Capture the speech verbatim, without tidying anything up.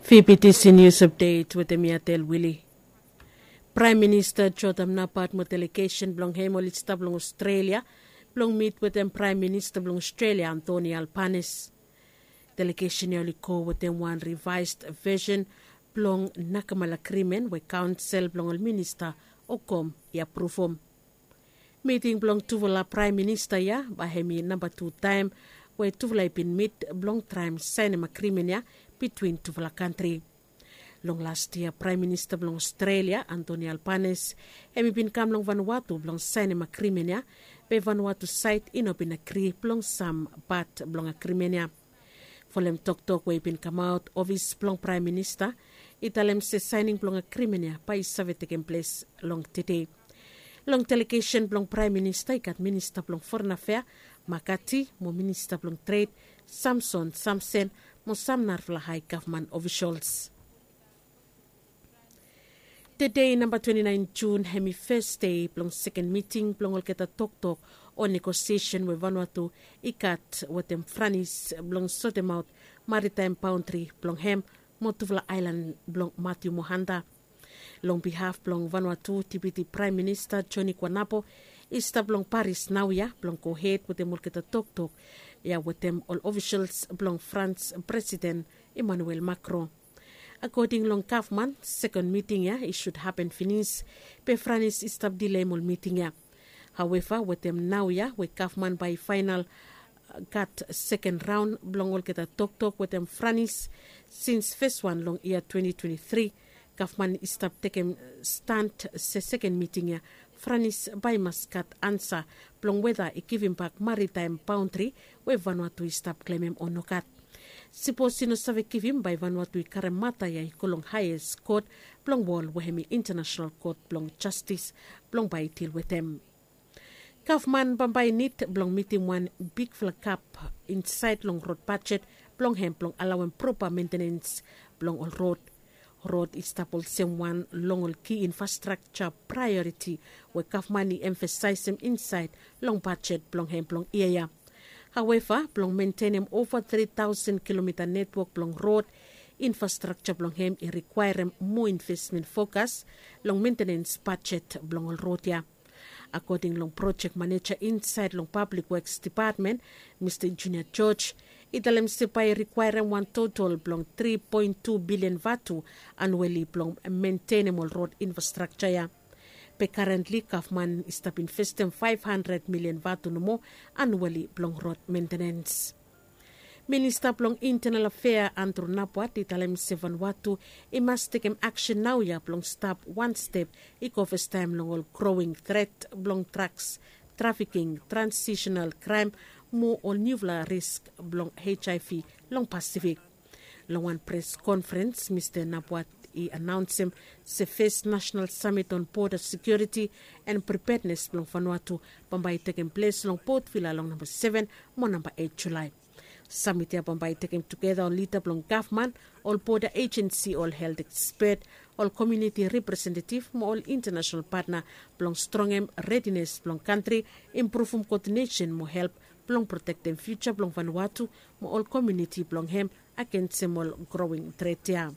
Fibitisi nius apdet wetem mi Atel Wili. Praem Minista Jotam Napat mo delegesen blong hem oli stap long Australia blong mit wetem Praem Minista blong Australia Antoni Albanis. Delegesen ya oli go wetem wan rivaes vesen blong nakamal agrimen we kaonsel blong ol minista o kom i apruvum. Miting blong tufala praem minista ya bae hem i namba tu taem we tufala i bin mit blong traem saenem agrimen ya bitwin tufala kantri. Long las yia praem minista blong Australia Antoni Albanis hem i bin kam long Vanuatu blong saenem agrimen ya, be Vanuatu saed i no bin agri blong sam pat blong agrimen ya. Folem toktok we i bin kamaot ofis blong praem minista i talem se saening blong agrimen ya bae i save tekem ples long tede. Long delegesen blong praem minista i gat minista blong foren afea Makati mo minista blong tred Samson Samsen mo sam narafala hae gavman ofisals. Tede namba twenti naen Jun hem i fes dei blong seken miting blong olgeta toktok o negosiesen we Vanuatu i gat wetem Franis blong sotemaot maritaem baontri blong hem mo tufala aelan blong Matiu mo Hanta. Long bihaf blong Vanuatu Dipiti Praem Minista Joni Kuanapo i stap long Paris naoia blong gohed wetem olgeta toktok ya wetem ol ofisals blong Frans Presiden Emanuel Makron. Akoding long gavman, sekon miting ya i sud hapen finis, be Franis i stap dileim ol miting ya. Haueva wetem naoia we gavman bae i faenal gat seken raon blong olgeta toktok wetem Franis sins fes wan long yia twenti twenti tri, gavman i stap tekem stan se seken miting ya Franis bae i mas gat ansa blong weda i givimbak maritaem baontri we Vanuatu i stap klemem o nogat. Sipos i no save givim bae Vanuatu i karem mata ya i go long haes kot blong wol we hem i Intanasenal Kot blong Jastis blong bae i dil wetem. Gavman bambae i nid blong mitim wan bigfala gap insaed long rod bajet blong hem blong alaoem propa mentenens blong ol rod. Rod i stap olsem wan long ol ki infrastrakja praeoriti we gavman i emfasaesem insaed long bajet blong hem blong yia ya. Haueva blong mentenem ova tri taosen kilomita netwok blong rod infrastrakja blong hem i rikwaerem moa invesmen fokas long mentenens bajet blong ol rod ya. Akoding long projek maneja insaed long Pablik Weks Depatmen, Mista Junia George, i talem se bae i rikwaerem wan totol blong tri poen tu bilian vatu anueli blong mentenem ol rod infrastrakja ya. Be karentli gavman i stap investem faef handred milian vatu nomo anueli blong rod mentenens. Minista blong Intenal Afea Andru Napuat i talem se Vanuatu i mas tekem aksen naoia blong stap wan step i go fastaem long ol growing tret blong draks, trafiking, transisenal kraem mo ol niufala risk blong HIV long Pasifik. Long wan pres konferens Mista Napuat i anaonsem se fes nasenal samit on boda sekiuriti en pripednes blong Vanuatu bambae i tekem ples long Potvila long namba seven mo namba eit Julae. Samit ya bambae i tekem tugeta ol lida blong gavman, ol boda ejensi, ol helt ekspet, ol komuniti representetiv mo ol intanasenal patna blong strongem redines blong kantri, impruvum koodinesen mo help blong protektem fiuja blong Vanuatu mo ol komuniti blong hem agensem ol growing tret ya.